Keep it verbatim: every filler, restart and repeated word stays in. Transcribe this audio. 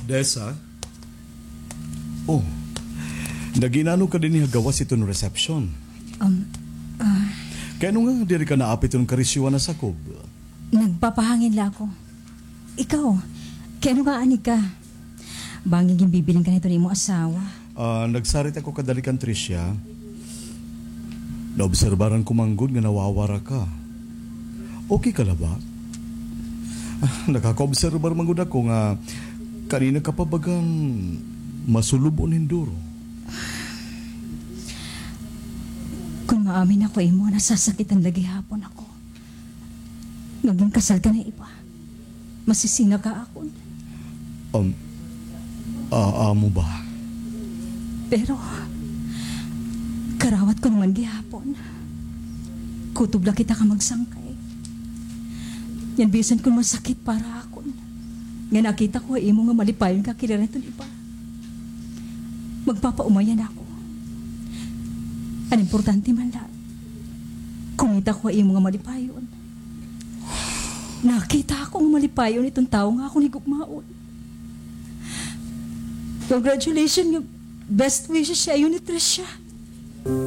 Dessa? Oh, nag-inano ka dinhi ha gawas hiton reception? Um, ah. Kay ano nga diri ka naapit hiton karisyohan na sakob? Nagpapahangin la ako. Ikaw, kay ano nga ani ka? Bangin ginbibilin ka na hiton imo asawa. Ah, nagsarit ako kadali kan Tricia. Naobserbaran ko man gud nga nawawara ka. Okay ka la ba? Ah, nakakaobserbar man gud ako nga kanina ka pa bagan masulub-on hin duro. Kon maamin ako ha imo, nasasakitan la gihapon ako. Nga ginkasal ka na iba. Masisina ka akon. Um, ah, amo ba? Pero, karawat ko naman gihapon. Kutob la kita ka magsangkay. Ngan bisan kon masakit para akon nga nakita ko ha imo nga malipayon ka kay Lorenzo iba. Magpapaumayan ako. An importante man la, kumita ko ha imo nga malipayon. Nakita ako nga malipayon iton tawo nga akon higugmaon. Congratulations nga best wishes siya iyo ni Tricia.